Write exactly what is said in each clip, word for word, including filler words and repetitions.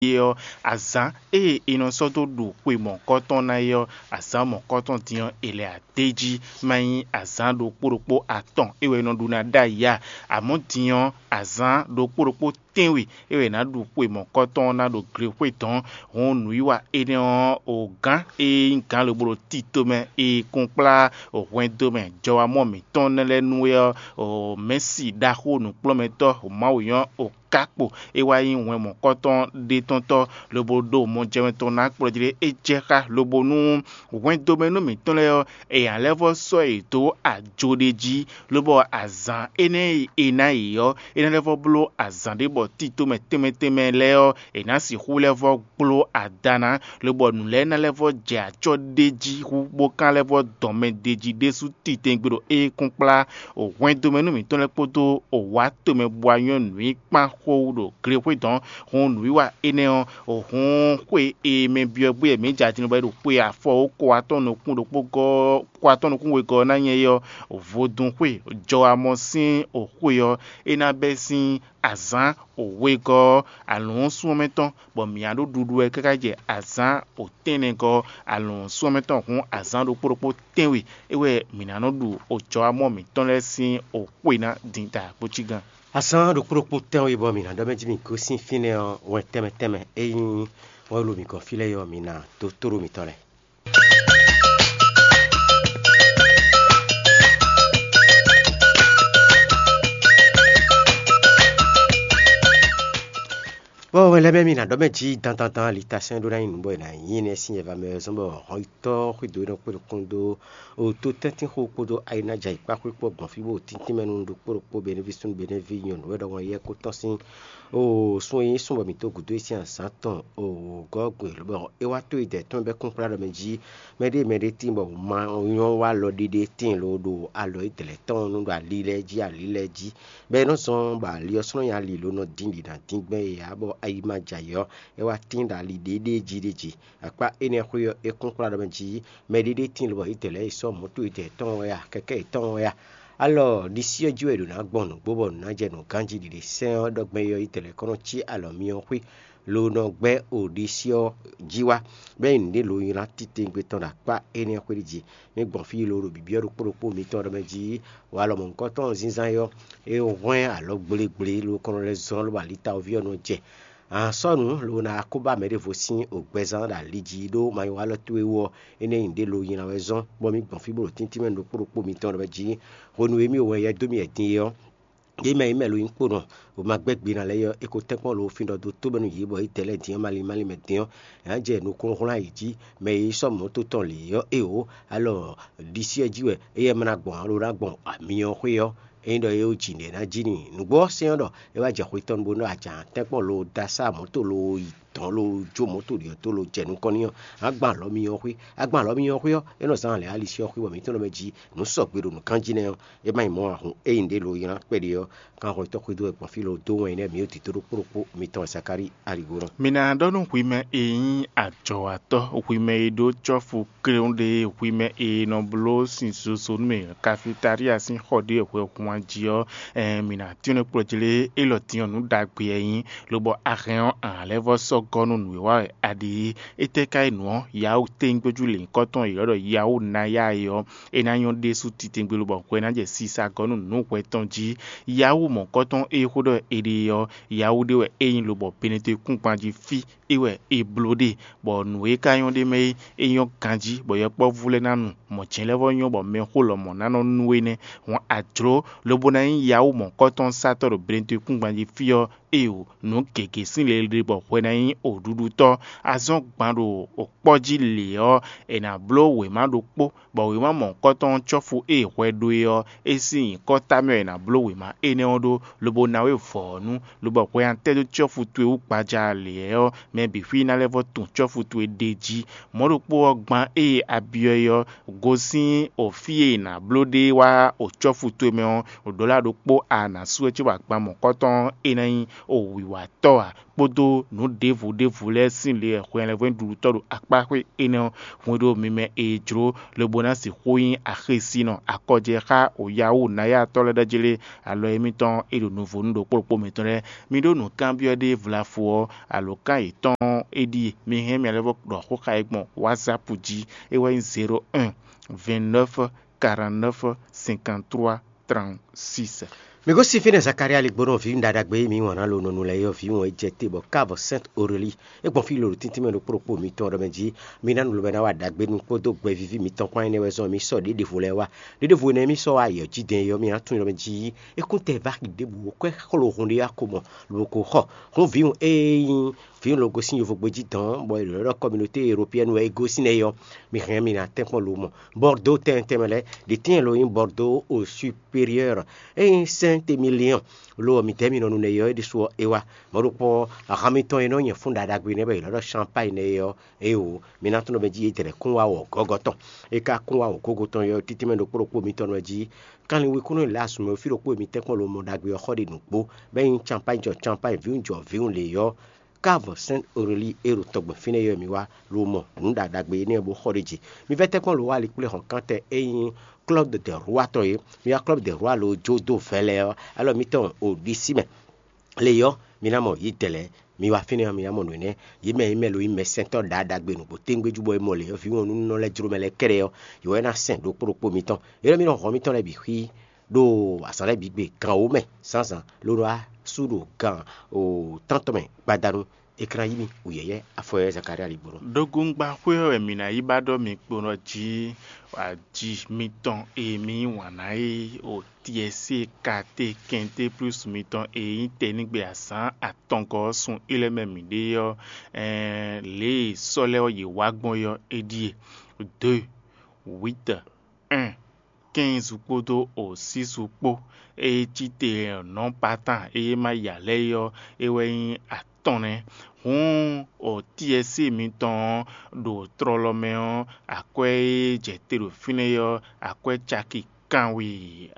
é ɔ́, azǎn e è nɔ sɔ́ dó ɖu xwe mɔ̌kɔtɔn ná é ɔ́, azǎn mɔ̌kɔtɔn din ɔ́, è lɛ adéjí má nyí azǎn ɖokpó ɖokpó atɔn é wɛ è nɔ ɖu ná ɖ'ayǐ a? Amɔ̌ din ɔ́, azǎn ɖokpó ɖokpó tɛ́nwe é wɛ è nǎ ɖu xwe mɔ̌kɔtɔn ɔ́ ná ɖo glexwé dɔ̌n. Hɔn nǔwiwa énɛ́ ɔ́, o gǎn e nyí gǎn lobo ɖo tito mɛ e kún kplá hwɛndo mɛ jɔwamɔ mǐtɔn nɛ́ lɛ́ɛ nú é ɔ́, mɛ̌si ɖaxó nǔkplɔ́nmɛtɔ́ Mawu nyɔ́ o kákpo é wá nyí hwɛn mɔ̌kɔtɔn ɖétɔ́ntɔ́ lobo ɖo mɔjɛmɛ tɔn ná kplɔ́ jí ɖé. É jɛ xá lobo nú hwɛndomɛnú mǐtɔn lɛ́ɛ ɔ́, è nǎ lɛ́ vɔ́ sɔ́ yě dó ajo ɖé jí, lobɔ azǎn énɛ́ e è ná yě ɔ́, é ná lɛ́ vɔ́ bló azǎn ɖé bɔ tito mɛ tɛnmɛ tɛnmɛ lɛ́ɛ ɔ́, è nǎ sixú lɛ́ vɔ́ gbló ada ná, lobɔ nǔ lɛ́ɛ ná lɛ́ vɔ́ jɛ acɔ́ ɖé jí hú, bó ka lɛ́ vɔ́ dɔn mɛ ɖ'é jí ɖésú titɛngbé ɖo é kún kplá hwɛndomɛnú mǐtɔn lɛ́ɛ kpódó wǎ tomɛ bó wá nyɔ́ nǔ e kpán xó wú ɖo glexwé dɔ̌n. Hɔn nǔwiwa énɛ́ ɔ́, hɔn xwe e mɛ byɔ́ gbé wɛ mǐ jɛ atin bɔ é ɖo xwe afɔ ko atɔ́ɔ́n nukún ɖokpó gɔ́ ko atɔ́ɔ́n nukún wegɔ́ ɔ́ ná nyɛ é ɔ́, vodún xwe jɔ amɔ sín xwe ɔ́, é ná bɛ́ sín azǎn wegɔ́ ɔ́ alɔ̌n súnmɔ́mɛtɔn, bɔ mǐ á ɖó ɖuɖu wɛ káká jɛ azǎn wǒtɛ́nnɛgɔ́ alɔ̌n súnmɔ́mɛtɔn, hǔn azǎn ɖokpó ɖokpó tɛ́nwe é wɛ mǐ ná nɔ ɖu ojɔwamɔ mǐtɔn lɛ́ɛ sín xwe ná din ta kpócígan. Azǎn ɖokpó ɖokpó tɛ́nwe bɔ mǐ ná ɖɔ mɛ jí mǐ gosín fínɛ́ ɔ́, wɛn tɛnmɛ tɛnmɛ e nyí wɛn ɖo mǐ gɔ́n fí lɛ́ɛ ɔ́, mǐ ná dó tóɖó mǐtɔn lɛ́ɛ. Bɔ wɛn lɛ́ɛ mɛ mi ná ɖɔ mɛ jí dandandan ali ta sɛn ɖó ná nyí nǔ bɔ è nǎ nyí énɛ́ sín yɛva mɛ ɔ́ zɔ́n bɔ hɔnyitɔ́ xwedó e nɔ kpé ɖokún dó oto tɛ́ntin xo kpódó ayinája yi kpá xwé kpó gbɔn fí bó tíntín mɛ nú ɖokpó ɖokpó benéví súnnu benéví nyɔ̌nu wɛ ɖɔhun yɛ kó tɔ́n sín o sun e nyí sun bɔ mǐ dó gǔdo e sín azǎn tɔn o gɔ́ gbe lobɔ é wá tó yi dɛ tɔn bɛ́ kún kplá ɖɔ mɛ jí mɛɖé mɛɖé tíin bɔ ma nyɔ́ wá alɔ ɖiɖe tíin lo ɖo alɔ e dlɛ̌ tɔn nu ɖo ali lɛ́ɛ jí ali lɛ́ɛ jí bɔ é nɔ zɔn bɔ ali ɔ́ sɔ́ nɔ nyi ali lo nɔ dín ɖi ná dín gbɛn e ǎ bɔ ayi ma jɛ ayǐ ɔ́, é wá tín ɖo ali ɖě ɖée jí ɖé jí. Akpá énɛ́ xwé ɔ́, é kún kplá ɖɔ mɛ jí mɛɖé ɖé tíin lobɔ yědɛɛ lɛ́ɛ yi sɔ́ mɔ̌to yědɛɛ tɔn wɛ a, kɛkɛ́ yětɔn wɛ a? Alɔ ɖisí ɔ́ jí wɛ è ɖǒ ná gbɔn nǔgbó bɔ nǔ ná jɛ nǔ ganjí ɖiɖe sɛ́n ɔ́ ɖɔ gbɛn é ɔ́, yědɛɛ lɛ́ɛ kɔn nɔ cí alɔ myɔ xwé lo nɔ gbɛ́ o ɖisí ɔ́ jí wá, bɔ é nyí nǔɖé lo nylá titewungbe tɔn ɖo akpá énɛ́ xwé ɖi jí. Mi gbɔn fí lo ɖo bǐbyɔ́ ɖokpó ɖokpó mitɔn ɖɔ mɛ jí walɔ mɔ̌hunkɔtɔn zínzán é ɔ́, é hwɛ́n alɔ gblégblé lo kɔn nɔ lɛ́ zlɔ́n lobɔ alitawoví ɔ́ nɔ jɛ. A sɔ́ nǔ lo ná ko ba mɛ ɖěvo sín ògbɛzán ɖo ali jí ɖó manyɔ́walɔ towe wú ɔ́, énɛ́ nyí nǔɖé lo nylá wɛ zɔ́n, bɔ mi gbɔn fí bó ɖo tíntín mɛ ɖokpó ɖokpó mitɔn ɖɔ mɛ jí hwenu e mì wɛ yɛ dó mì wɛ din é ɔ́, ɖě mɛ e mɛ lo nyí kponɔ, bó ma gbɛ́ gbe ná lɛ́ɛ é ɔ́, é ko tɛ́nkpɔ́n lo fín ɖɔ dó tó mɛ nú yě bɔ yě dɛ lɛ́ɛ din ɔ́ malín malín mɛ din ɔ́, è nǎ jɛ nukúnnú hwlán yě jí. Mɛ e yí sɔ́ mɔ̌ tó tɔn lě ɔ́, éeǒ, alɔ ɖisí ɛ jí wɛ éyɛ́ ma ná gbɔn ǎ, lo ná gbɔn amyɔ xwé ɔ́, ényí ɖɔ é wú jǐ nɛ̌ ná jí n'i. Nǔgbó ɔ́ sɛ́n ɔ́ ɖɔ é wá jɛ xwe tɔn nu bó nɔ́ ajǎ tɛ́nkpɔ́n lo da sá mɔ̌ to lo yi dɔ̌n lo jó mɔ̌ to ɖi ɔ́ tó lo jɛ nukɔn n'i ɔ́, a gbɔn alɔ myɔ xwé, a gbɔn alɔ myɔ xwé ɔ́, é nɔ zán lɛ̌ ali sɛ́ ɔ́ xwé bɔ mǐ tɔn nɔ mɛ jí nǔ sɔgbe ɖo nǔkanjí nɛ́ ɔ́, é má nyí mɔ̌ ǎ hǔn, ényí ɖě lo nylá kpɛɖé ɔ́, kanxɔtɔ́ xwedó wɛ gbɔn fí lo dó wɛn nyí nɛ́ mǐ ɖo tito ɖokpó ɖokpó mitɔn wɛ Zakalíi aligo nɔ. Mi ná ɖɔ nú hwi mɛ e nyí ajɔ̌watɔ́, hwi mɛ e ɖó cɔ́fu kléwún ɖé, hwi mɛ e nɔ bló sin zozo nú mì, Kafitalía sín xɔ ɖé hwɛhwan jí ɔ́, ɛn, mǐ ná tínmɛ kplɔ́ jlé élɔ́ din ɔ́ nǔ ɖagbe wɛ é nyí, lobɔ a hɛn ɔ́, a nǎ lɛ́ vɔ́ sɔ́ gɔ́ nú nǔ e wa wɛ a ɖe é. Étɛ́ ka nyí nǔ ɔ́? Yawu tényígbéjú lǐnkɔ́ tɔn e è ylɔ́ ɖɔ Yawu ná yá é ɔ́, é ná nyɔ́ ɖésú titewungbe lobɔ hwɛ ná jɛ sisa gɔ́ nú nǔ hwɛ tɔn jí. Yawu mɔ̌kɔ́tɔn e xó ɖɔ è ɖe ɔ́, Yawu ɖé wɛ é nyí lobɔ Benetɔn kúngban jí fí é wɛ è bló ɖe, bɔ nǔ e ka nyɔ́ ɖ'é mɛ é, é nyɔ́ ganjí, bɔ yɔkpɔ́vú lɛ́ɛ ná nu, mɔ̌ jɛ́n lɛ́ vɔ́ nyɔ́ bɔ mɛxó lɔmɔ̌ ná nɔ nú énɛ́. Hɔn a jlǒ lobo ná nyí Yawu mɔ̌kɔ́tɔn-sátɔ́ ɖo Benetɔn kúngban jí fí ɔ́, éeǒ, nǔ gěgé sín le ɖe bɔ hwɛ ná nyí òɖuɖutɔ́. A zɔ́n gban ɖo òkpɔ́ jí lě ɔ́, è nǎ bló wěma ɖokpó, bɔ wěma mɔ̌hunkɔtɔn ɔ́ cɔ́fu e hwɛ ɖó é ɔ́, é sín nyǐkɔ ta mɛ wɛ è nǎ bló wěma énɛ́ ɔ́ ɖó, lobo ná we vɔ̌ ɔ́ nu, lobɔ hwɛ ná tɛ́ dó cɔ́fu towe wú gbaja lě ɔ́, mɛ bǐ xwí ná lɛ́ vɔ́ tun cɔ́fu towe ɖ'é jí. Mɔ̌ ɖokpó ɔ́, gban ée a byɔ́ é ɔ́, gosín o fí e è nǎ bló ɖe wá o cɔ́fu towe mɛ ɔ́, ɖǒla ɖokpó a nǎ sú wɛ cóbɔ agban mɔ̌hunkɔtɔn ɔ́, é ná nyí o wǐwatɔ́ ǎ. kpódó nǔ ɖěvo ɖěvo lɛ́ɛ sín le wɛ hwɛnlɛ́nhwɛ́nɖuɖutɔ́ ɖo akpáxwé énɛ́ ɔ́ hun e ɖo mi mɛ e jló, lobo ná sixú nyí axésinɔ akɔjɛ xá Yahoo nayatɔ́ lɛ́ɛ ɖɔ́ jlé alɔ émítɔn e ɖo nuvo nú ɖokpó ɖokpó mitɔn lɛ́ɛ. Mi ɖó nǔkanbyɔ́ ɖé vlafo ɔ́, alǒkan yětɔn ɔ́, é ɖíe: mi hɛn mì alɔ vɔ ɖɔ xó xá yě gbɔn WhatsApp jí, é wɛ nyí zéro un, vingt-neuf, quarante-neuf, cinquante-trois, trente-six. Mi gosín fínɛ́ Zakalía ligbónɔ ví ɖaɖagbe e mǐ wɔn ná lo nɔnu lɛ́ɛ yɔ́ vǐ wɔn e jɛ te bɔ kávo Sɛ́nt Orelíi é gbɔn fí lolo tíntín mɛ ɖokpó ɖokpó mitɔn ɖɔ mɛ jí: mi ná nu lobɛ ná wa ɖagbe nu kpódó gbɛvíví mitɔn kpán énɛ́ wɛ zɔn mǐ sɔ́ ɖěɖevo lɛ́ɛ wá. Ɖěɖevo énɛ́ mǐ sɔ́ wá ayɔ̌ jí dɛn é ɔ́, mǐ ná tunwun ɖɔ mɛ jí é kún tɛ vá xi ɖěbǔ ó, kwɛ́ xló hun ɖé wá ko mɔ lobo ko xɔ. Hǔn vǐwun e nyí vǐwun lo gosín yovogbe jí dɔ̌n, bɔ è ɖǒ ɖɔ kɔminɔté eropiyɛ́nu wɛ é gosín nɛ́ é ɔ́, mi hɛn mì ná tɛ́nkpɔ́n lo mɔ. Bɔrdó tɛnmɛ tɛnmɛ lɛ́ɛ ɖě tɛ́ntin lo nyí Bɔrdó o superiɔ́r, é nyí Sɛ́ntemiliɔn. Lo ɔ́, mǐdɛɛ mì nɔ nu nɛ́ é ɔ́, é ɖésú ɔ́, é wá. Mɔ̌ ɖokpó ɔ́, ahan mitɔn e nɔ nyɛ fún ɖaɖagbe nɛ́ bɔ è nɔ ɖɔ Champágne nɛ́ é ɔ́, éeǒ, mi ná tunwun ɖɔ mɛ jí é jɛ kún wá wɔ̌ gɔ́gɔ́ tɔn. É ka kún wá wɔ̌ gɔ́gɔ́ tɔn ɔ́, títí mɛ ɖokpó ɖokpó mitɔn nɔ jí kanlin-wekúnɔ e lɛ́ asúnmɛ fí ɖokpó e mi tɛ́nkpɔ́n lo mɔ ɖagbe ɔ́ xɔ ɖe nǔgbó, bɔ é nyí Champágne jɔ Champágne, vǐwun jɔ vǐwun lě ɔ́, kávo Sɛ́nt Orelíi e ɖo tɔgbɛn fínɛ́ ɔ́ mi wá, lo mɔ nǔ ɖaɖagbe énɛ́ ɔ́ bó xɔ ɖ'é jí. Mi vɛ́ tɛ́nkpɔ́n lo wá ali kplé hɔn kántɛ e nyí Klɔ́b dɛ Rwá tɔn é. Mi wá Klɔ́b dɛ Rwá lo jó dó vɛ̌ lɛ́ɛ ɔ́, alɔ mitɔn o ɖisí mɛ. Le ɔ́, mi ná mɔ yě dɛ lɛ́ɛ. Mi wá fínɛ́ ɔ́, mi ná mɔ nǔ énɛ́. Yě mɛ e mɛ lo nyí mɛsɛntɔ́ ɖaɖagbe nǔgbó téŋgbéjú bɔ è mɔ lě ɔ́, vǐwɔnnúnɔ lɛ́ɛ jló mɛ lɛ́ɛ kɛ́ɖɛ́ ɔ́, yě wɛ ná sɛn ɖokpó ɖokpó mitɔn. Yě lɛ́ɛ mi nɔ hɔn mitɔn lɛ́ɛ bǐ xwí ɖo azǎn lɛ́ɛ bǐ gbe gan wǒ mɛ zǎnzǎn, ló ɖó wá sú ɖo gan tántɔn mɛ gbadanu. È ka ná yí mi wǔyɛ́yɛ́ afɔyɛ́ Zakalía ligbónɔ. Ɖogungbáxwé ɔ́ wɛ mǐ ná yi ba ɖɔ mi kpo nɔ jí aji mitɔn e mi yí wǎn ná é o Tiɛsée, Katé, Kɛnté plus mitɔn e nyí tɛnígbe azǎn atɔngɔ́ ɔ́ sun é lɛ́ɛ mɛ mǐ ɖe ɔ́, ɛɛn lě e sɔ́ lɛ́ɛ ɔ́ yě wá gbɔn é ɔ́, é ɖíe: deux, huit, un, quinze kpódó o six kpó. E cí te nɔ̌ Patan e ma ya lɛ́ɛ é ɔ́, é wɛ nyí atɔn nɛ́. Hǔn o Tiɛsée mitɔn ɔ́ ɖo tlɔlɔ mɛ ɔ́, akwɛ́ e jɛ te ɖo fínɛ́ é ɔ́, akwɛ́ caki kanwe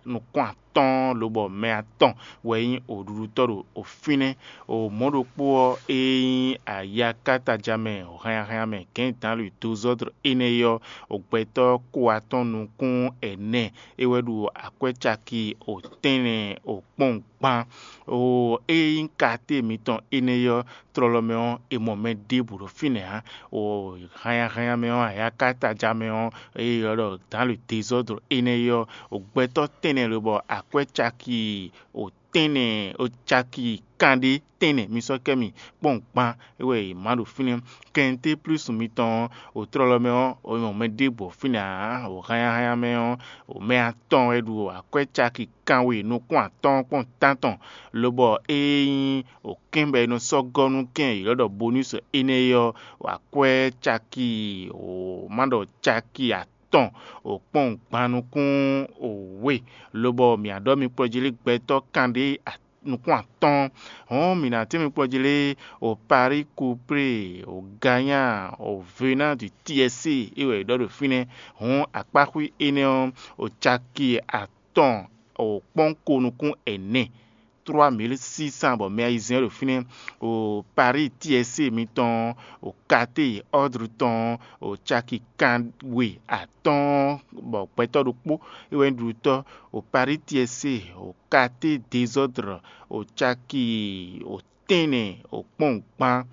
nukún atɔ́ɔ́n lobɔ mɛ atɔn wɛ nyí oɖuɖutɔ́ ɖo fínɛ́. O mɔ̌ ɖokpó ɔ́, e nyí ayakátadza mɛ hɛnnyahɛnnya mɛ gɛ̌n dǎnlwǐ dozɔ́dr énɛ́ é ɔ́, gbɛtɔ́ ko atɔ́ɔ́n nukún ɛnɛ é wɛ ɖo akwɛ́ caki o tɛ́nnɛ o kpɔ́n gban. O e nyí katé mitɔn énɛ́ ɔ́, tlɔlɔ mɛ ɔ́, è mɔ mɛ ɖěbǔ ɖo fínɛ́ ǎ. O hannyahannya mɛ ɔ́, ayakátadza mɛ ɔ́, e ylɔ́ ɖɔ dǎnlwǐ dezɔ́dr énɛ́ é ɔ́, o gbɛtɔ́ tɛ́nnɛ lobɔ akwɛ́ caki o tɛ́nnɛ o caki kanɖé tɛ́nnɛ mi sɔ́ kɛ mì kpɔ́n gban é wɛ è má ɖo fínɛ́. Kɛnté plúsu mitɔn ɔ́, o tlɔlɔ mɛ ɔ́, o nyɔ mɛ ɖěbǔ ɔ́ fínɛ́ ǎ. O hannyahannya mɛ ɔ́, o mɛ atɔn wɛ ɖu akwɛ́ caki kanwe nukún atɔ́ɔ́n kpɔ́n tántɔn, lobɔ ée nyí o kɛ́n bɔ è nɔ sɔ́ gɔ́ nú kɛ́n e ylɔ́ ɖɔ bonús énɛ́ é ɔ́, o akwɛ́ caki o má ɖɔ caki atɔn o kpɔ́n gban nukún o we, lobɔ mǐ á ɖɔ mi kplɔ́ jí lé gbɛtɔ́ kanɖé nukún atɔ́ɔ́n. Hɔ̌n mǐ ná tɛ́n mi kplɔ́ jí lé o Parí Kuplé, o Ganyá, o Vená du Tiɛsée é wɛ è ɖɔ ɖo fínɛ́. Hɔ̌n akpáxwí énɛ́ ɔ́, o caki atɔn o kpɔ́n ko nukún ɛnɛ, trois mille six cents, bɔ mɛ ayizɛ́n ɖo fínɛ́. O Parí Tiɛsée mitɔn, o Katé Ɔ́dru tɔn, o caki kanwe atɔ́ɔ́n, bɔ gbɛtɔ́ ɖokpó é wɛ nyí ɖuɖutɔ́. O Parí Tiɛsée, o Katé Dezɔ́dr, o caki o tɛ́nnɛ o kpɔ́n gban,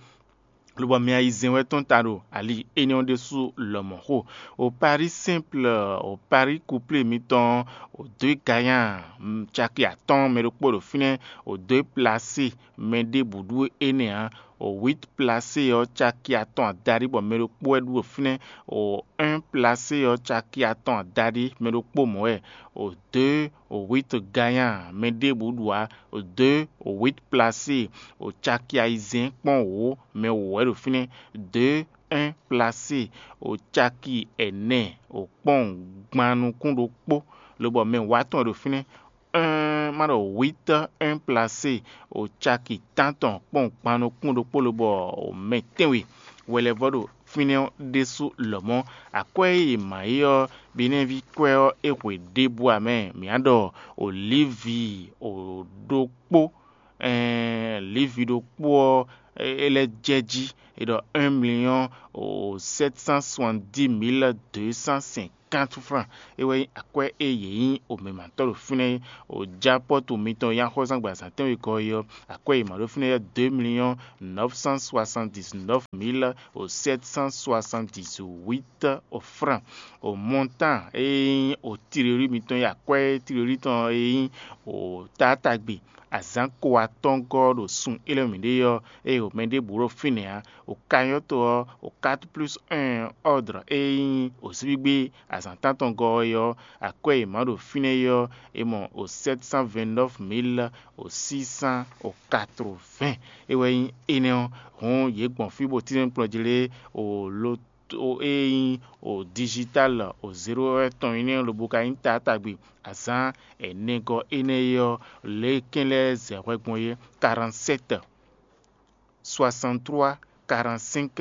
lobɔ mɛ ayizɛ́n wɛ tɔn ta ɖo ali énɛ́ ɔ́ ɖésú lɔmɔ̌ xo. O Parí Sɛ́nplɔ, o Parí Kuplé mitɔn, o dó Ganyán, caki atɔ́ɔ́n mɛ ɖokpó ɖo fínɛ́, o dó Plasé, mɛ ɖěbǔ ɖú énɛ́ ǎ. O wít Plasé ɔ́, caki atɔn adaɖí bɔ mɛ ɖokpó wɛ ɖú ɖo fínɛ́. O un Plasé ɔ́, caki atɔn adaɖí mɛ ɖokpó mɔ̌ wɛ. O dó o wít Ganyán, mɛ ɖěbǔ ɖu ǎ. O dó o wít Plasé, o caki ayizɛ́n kpɔ́n wǒ, mɛ wǒ wɛ ɖo fínɛ́. Dó un Plasé, o caki ɛnɛ o kpɔ́n gban nukún ɖokpó, lobɔ mɛ wǒ atɔn wɛ ɖo fínɛ́. Un má ɖɔ wít un Plasé, o caki tántɔn kpɔ́n gban nukún ɖokpó, lobɔ o mɛ tɛ́nwe wɛ lɛ́ vɔ ɖo fínɛ́ ɔ́ ɖésú lɔmɔ̌. Akwɛ́ e è mǎ é ɔ́, Benɛ́ví kwɛ́ ɔ́, é hwe ɖěbǔ ǎ mɛ. Mǐ á ɖɔ o Livi o ɖokpó, ɛɛn Livi ɖokpó ɔ́, é lɛ́ jɛ jí. É ɖɔ un million sept cent soixante-dix mille deux cent cinquante francs. É wɛ nyí akwɛ́ e yě nyí omɛmatɔ́ ɖo fínɛ́ é. O japɔ́tu mitɔn e nyí axɔ́súzángbe azǎn tɛ́nwe gɔ́ é ɔ́, akwɛ́ e yě mǎ ɖó fínɛ́ ɔ́, deux millions neuf cent soixante-dix-neuf mille sept cent soixante-dix-huit francs. O montant e nyí o tirelí mitɔn e akwɛ́ tirelí tɔn e nyí o taatagbe azǎn ko atɔ́ɔ́ngɔ́ ɖo sun élɔ́ mǐɖée ɔ́, ée o mɛ ɖěbǔ ɖo fínɛ́ ǎ. O kanyɔ́to ɔ́, o quatre plus un ordre e nyí o síbígbé azǎn tántɔngɔ́ ɔ́ é ɔ́, akwɛ́ e mǎ ɖo fínɛ́ é ɔ́, è mɔ o sept cent vingt-neuf mille o six cent o quatre-vingts. É wɛ nyí énɛ́ ɔ́, hǔn yě gbɔn fí bó tínmɛ kplɔ́n jí lé o lo to e nyí o digital o zéro tɔn énɛ́ lobo ka nyí taatagbe azǎn ɛnɛgɔ́ énɛ́ é ɔ́, lě e kɛn lɛ́ɛ zɛ hwɛ gbɔn é, quarante-sept soixante-trois quarante-cinq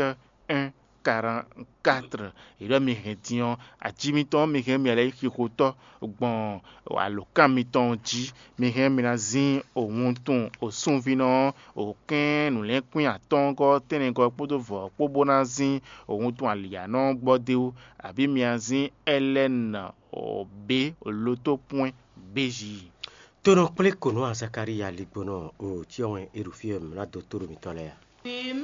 un quarante-quatre. È ɖɔ mi hɛn din ɔ́, ají mitɔn ɔ́, mi hɛn mi lɛ́ yi xixotɔ́ gbɔn alǒkan mitɔn jí. Mi hɛn mi ná zín o wuntun o súnvínɔ ɔ́, o kɛ́n nǔlɛ́nkwín atɔ́ɔ́ngɔ́ tɛ́nnɛgɔ́ kpódó vɔ̌ kpó bó ná zín o wuntun alǐyánɔ gbɔ d'é wú, abǐ mi ná zín ɛlɛ́nɔ o bé o lotó pwɛ́n béjí. Tonɔ kplé kǒnɔ Zakalíya ligbɔnɔ o cyɔ wɛn e ɖo fí wɛ mǐ ná dó tó ɖo mitɔn lɛ́ɛ a?